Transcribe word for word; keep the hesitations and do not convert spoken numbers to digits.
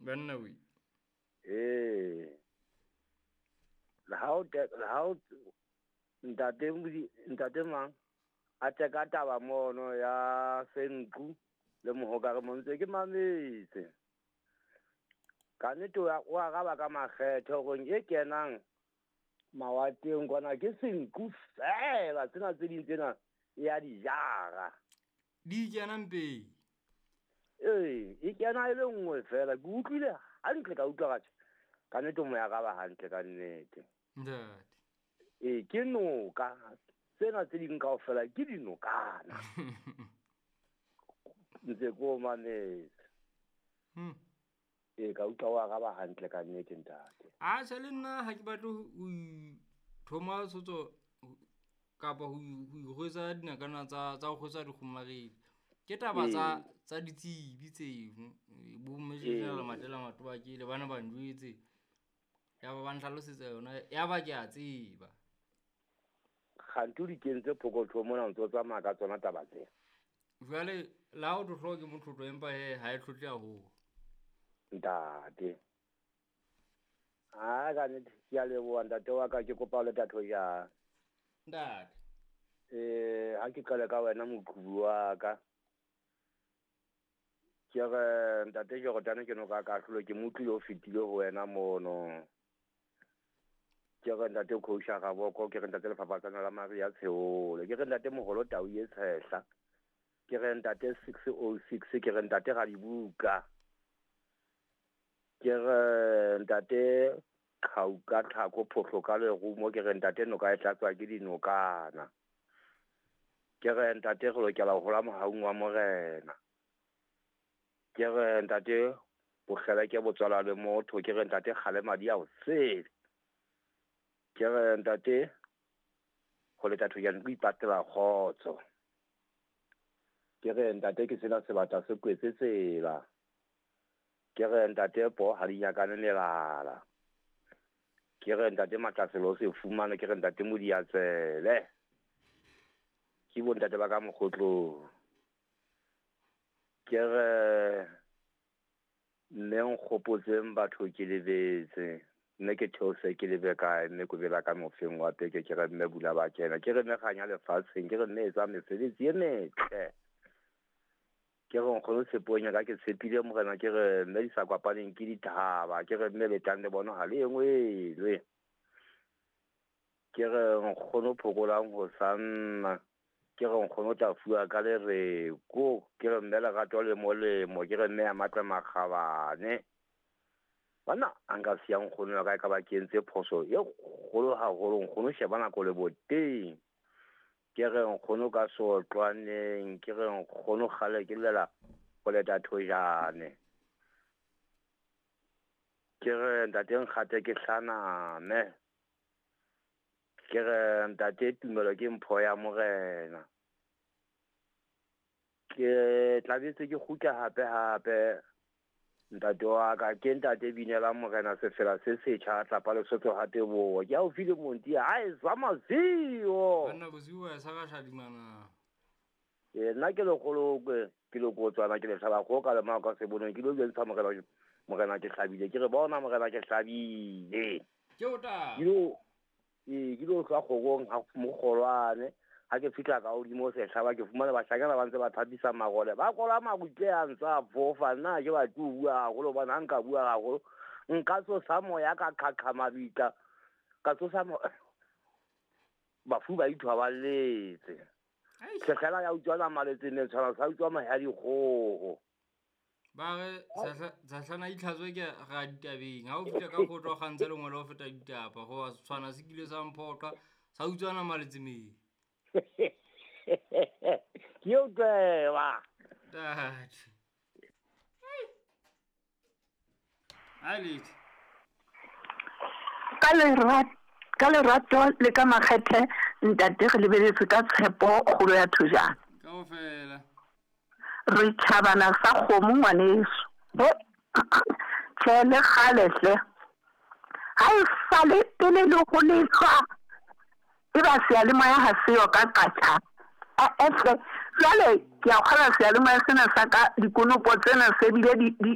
Banna we. Ee. Le ha o le ha o ntate ntate mang a teka taba mono ya Senqu le Mohokare mo ntse ke mametse. Ka nnete o araba ka makgethe hore e kenang mawateng kwana ke Senqu fela, tsena tse ding tsena e ya di jara. Di kena mpeng? Ee, e kena e le nngwe fela. Ke utlwile hantle, ka utlwa ka ka nnete mo ya araba hantle ka nnete. Ntate. Ee, ke noka. Tsena tse ding kaofela ke dinokana. Ntse ko mametse. Hmm. Ee, ka utlwa o araba hantle ka nnete ntate. A tjhe, le nna ha ke batle ho thoma sotso kapa ho ikgwetsa dinakana tsa tsa ho kgwetsa dikgomaredi. Ke taba tsa tsa ditsebi tseno. Bo Major Matela Matobakele bana ba njwetse. Ya ba ba nhlalosetsa yona, ya ba ke a tseba. Kganthe o di kentse phokothong mona o ntso tsamaya ka tsona taba tsena. Jwale la ho tlo ke motlotlo empa he ha e tlhotle haholo. Ntate. Ah, ka nnete ke a leboha ntate wa ka, ke kopa le tatho ya. Ntate. Eh, ha ke qale ka wena moqhubu wa ka. Ke re ntate Jordan ke no ka kahlolo ke motlile o fetile ho wena mono. Ke re ntate Khousha Raboko, ke re ntate Lefapatsana la Maria Tsheole, ke re ntate Moholo Tau e Tshehla. Ke re ntate six oh six, ke re ntate Radibuka. Ke re ntate Qhauka Tlhako Phohlo ka lerumo, ke re ntate noka e tlatswa ke dinokana. Ke re ntate re lokela ho hola mohaung wa Morena. Ke re ntate bokgele ke botswala le motho, ke re ntate kgale madi a o sele. Ke re ntate ho leta thojana ke ipatela kgotso. Ke re ntate ke sena sebata se kwetse tsela. Ke re ntate po ha di nyakane melala. Ke re ntate Matlaselo se fumane, ke re ntate Modiatsele. Ke bo ntate ba ka mokgotlong. Ke re mme nkgopotseng batho ke lebetse. Mme ke theose ke lebe kae, mme ko bela ka mofeng wa peke, ke re mme bula ba kena. Ke re mme kganya lefatsheng, ke re mme etsa mesebetsi e metle. Ke re nkgono tshepong ya ka ke tshepile Morena, ke re mme di sa kopaneng ke dithaba, ke re mme letang le bona ha le engwelwe. Ke re nkgono phokolang ho sanna, ke re nkgono tla fuwa ka lereko, ke re mme lerato le molemo, ke re mme ya matla makgabane. Banna a nka siya nkgono ya ka e ka ba ke entse phoso e kgolo haholo, nkgono sheba nako le boteng. Ke re nkgono ka sotlwaneng, ke re nkgono kgale ke llela ho leta thojane. Ke re ntate nkgate ke hlaname. Ke re ntate tumelo ke mpho ya Morena. Ke tlabetse ke kgutla hape hape. Ntate wa ka ke ntate binela Morena sefela se setjha tlapa Lesotho ha teboho. Ke haufi le Monti ha e zwa mazio. Banna bosiu ba sa ka shadimana. Eh, nna ke lekgolo ke le kotswana ke le hlaba kgoho ka lemao ka sebonong, ke lo jwentsha Morena, Morena ke hlabile, ke re bona Morena ke hlabile. Ke o tla. Ke lo, ee, ke lo hlwa kgorong ha mokgolwane. Ha ke fihla ka hodimo sehlaba ke fumana bahlankana ba ntse ba thapisa marole. Ba kola marutle a ntse a fofa, nna ke batle ho bua haholo hobane ha nka bua haholo nka tsosa moya ka qhaqha mabitla, ka tsosa mo-, bafu ba ithwa ba letse. Sehlela ya utswa nama letseneng, tshwana sa utswa mahe a dikgoho. Ba re Sahlana itlhatswe ke ra ditabeng. Ha o fihla ka kgotlo kgantshe lengolo ho feta ditaba, ho tshwana se kile sa mphoqa, sa utswa nama letsemeng. Ke o tseba. Ntate. Ai Leti. Ka lerato, ka lerato le ka makgethe ntate re lebeletse ka tshepo kgolo ya thojana. Kaofela. Re tjhabana sa kgomo ngwaneso. He, tjhe le kgale hle. Ha e sale pele le ho lehlwa, e ba seyalemoya ha seyo ka qatjha. Eh, eh, hle. Jwale ke a kgolwa seyalemoya sena sa ka dikonopo tsena se bile di, di,